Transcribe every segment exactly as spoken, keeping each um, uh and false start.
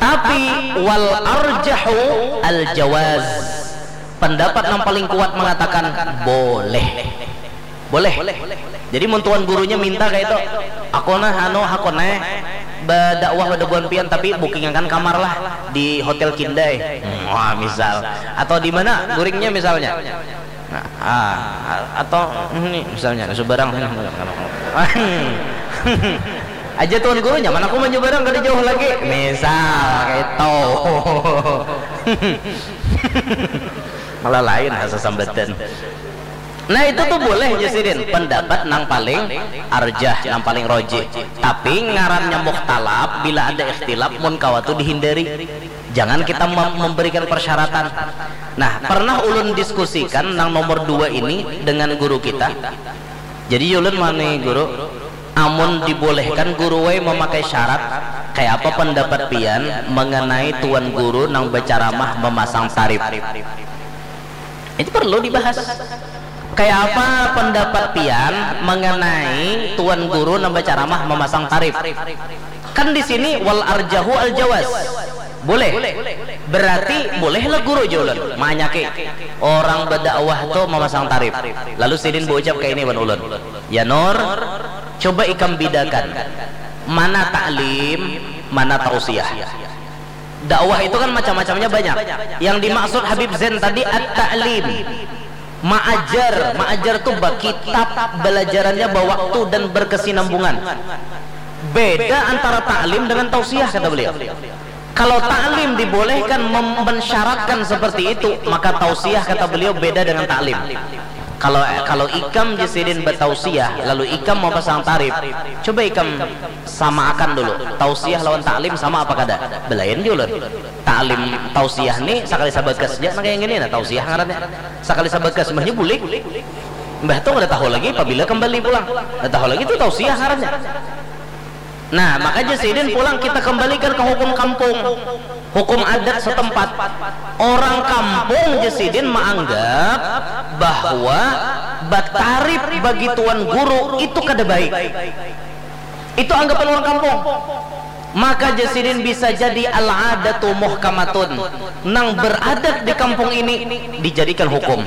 Tapi wal arjahu al jawaz. Pendapat yang paling kuat mengatakan boleh. Boleh. Jadi mun tuan gurunya minta kayak itu, aku nah anu hakun eh berdakwah pada buan pian tapi bookingakan kamar lah di hotel Kindai. Wah, misal. Atau di mana guringnya misalnya. Nah, ah, atau ini misalnya subarang sini. Aja tuan guru nyaman aku menyeberang kada jauh lagi. Misal kayak itu. Malah lain asa sambatan. Nah, itu tuh boleh jar sidin, pendapat nang paling arjah, nang paling rojih. Tapi ngarannya mukhtalaf bila ada ikhtilaf mun kawa tuh dihindari. Jangan kita mem- memberikan persyaratan. Nah, pernah ulun diskusikan nang nomor dua ini dengan guru kita. Jadi ulun mani guru, amun dibolehkan guru wai memakai syarat, kayak apa pendapat pian mengenai tuan guru nang berceramah memasang tarif? Itu perlu dibahas. Kayak apa pendapat pian mengenai tuan guru nang berceramah memasang tarif? Kan di sini wal arjahu al jawaz. Boleh. Berarti bolehlah guru jar ulun manyaki orang berdakwah tuh memasang tarif. Lalu sidin berucap kayak ini wan ulun. Ya Nur, coba ikam bidakan mana taklim, mana tausiah. Dakwah itu kan macam-macamnya banyak. Yang dimaksud Habib Zain tadi at-ta'lim. Maajar, maajar tuh bakitab, belajarannya bawaktu dan berkesinambungan. Beda antara taklim dengan tausiah kata beliau. Kalau taklim dibolehkan mem- mensyaratkan seperti itu, maka tausiah kata beliau beda dengan taklim. Kalau kalau ikam jar sidin bertausiah lalu ikam mau pasang tarif, coba ikam sama akan dulu. Tausiah lawan taklim sama apa kada? Belain jar ulun. Taklim tausiah nih sekali sabagas aja nah kayak gini nah tausiah ngarannya. Sekali sabagas mbahnya bulik. Mbah tuh kada tahu lagi pabila kembali pulang. Kada tahu lagi tuh tausiah ngarannya. Nah, maka jar sidin pulang kita kembalikan ke hukum kampung. Hukum adat setempat. Orang kampung jar sidin menganggap bahwa batarif bagi tuan guru itu kada baik. Itu anggapan orang kampung. Maka jar sidin bisa jadi al-adatu muhkamatun. Nang beradat di kampung ini dijadikan hukum.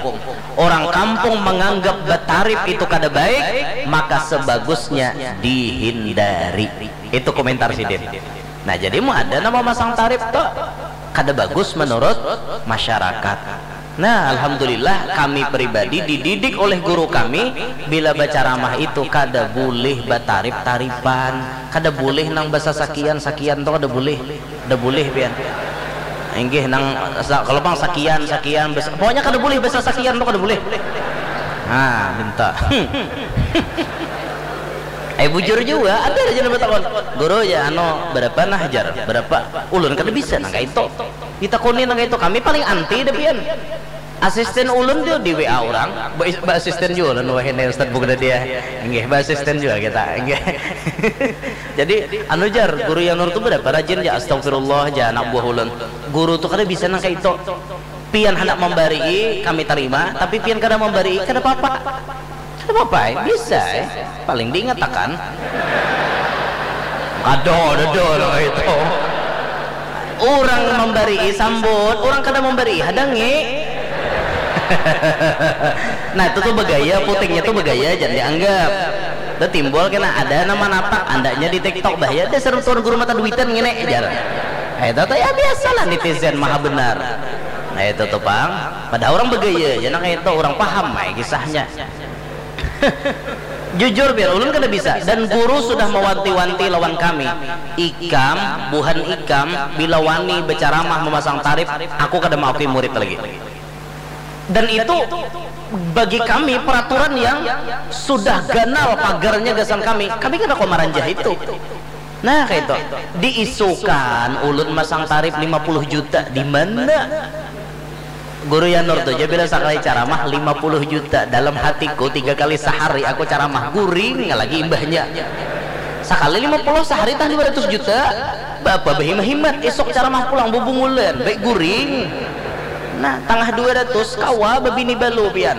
Orang kampung menganggap batarif itu kada baik, maka sebagusnya dihindari. Itu komentar sidin. Nah, jadi mau ada nama masang tarif tuh kada bagus menurut masyarakat. Nah, alhamdulillah kami pribadi dididik oleh guru kami bila bacaramah itu kada boleh batarif-tarifan, kada boleh nang basa sakian sakian tuh kada boleh, kada boleh pian. Inggih nang sa- kalau pang sakian sakian bas- pokoknya kada boleh basa sakian tuh kada boleh. Nah, minta. Eh bujur juga ada aja nang bertakon guru ya anu berapa nah jar berapa ulun kada bisa nang kayak itu. Ditakuni nang itu kami paling anti deh pian. Asisten ulun tuh di W A orang, ba, ba asisten juga ulun wah ini Ustaz Bugda dia. Nggih, ba asisten juga kita. Nggih. Jadi anu jar, guru yang nur tuh berapa rajin ya astagfirullah ya anak buah ulun. Guru tuh kada bisa nang kayak itu. Pian hendak memberi, kami terima, tapi pian kada memberi, kada apa-apa. Kada apa-apa, eh. Bisa, eh. Paling diingatakan. Kada, ada, ada itu. Orang memberi sambut, orang kada memberi hadangi. Nah itu tuh begaya, putingnya tuh begaya, jangan dianggap. Itu timbul kena ada nama napak andaknya di TikTok bah ya dasar tuan guru mata duitan ngene jar. Nah, itu tuh ya biasalah netizen maha benar. Nah itu tuh pang, padahal orang begaya, ya nah itu orang paham mai kisahnya. Jujur biar ulun kada bisa dan guru sudah mewanti-wanti lawan kami. Ikam, buhan ikam, bila wani berceramah memasang tarif, aku kada maafin murid lagi. Dan itu bagi kami peraturan yang sudah ganal pagarnya gasan kami. Kami kada kau maranjah itu. Nah, kayak itu. Diisukan ulun masang tarif lima puluh juta di mana? Guru Yanur tuh aja bila sekali ceramah lima puluh juta dalam hatiku tiga kali sehari aku ceramah guring lagi imbahnya sekali lima puluh sehari tah dua ratus juta. Bapak berhimat-himat esok ceramah pulang bubungulan baik guring. Nah, tangah dua ratus kawa babini balu pian.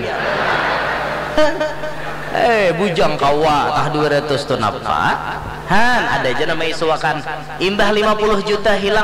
Eh, bujang kawa tah dua ratus tu napa? Han, ada aja nama isuakan. Imbah lima puluh juta hilang